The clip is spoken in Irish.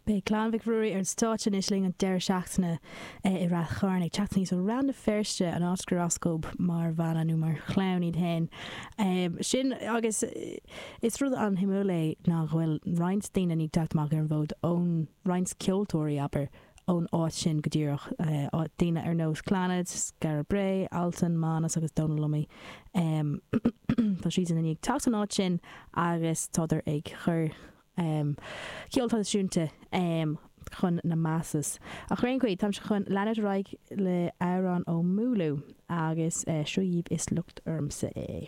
Beidh Clann Mhic Ruairí ar an stáitse anois linn an deireadh seachtaine i Rath Chairn, ag teacht aníos ó Rann na Feirste, an áit gur as dóibh mar bhanna nó mar chlann iad féin. Sin agus is rud an-shuimiúil é ná go bhfuil roinnt daoine ag teacht amach ar an bhfód ón, roinnt ceoltóirí, abair, ón áit sin go díreach, daoine ar nós Clannad, Skara Brae, Altan, Mánas agus Dónal Lunny. Tá siadsan i ndiaidh teacht ón áit sin agus tádar ag cur ceol traidisiúnta chun na masses. Ach ar aon chaoi, táimse chun leanúint ar aghaidh le amhrán ó Múlú agus seo dhaoibh Is Locht Ormsa É.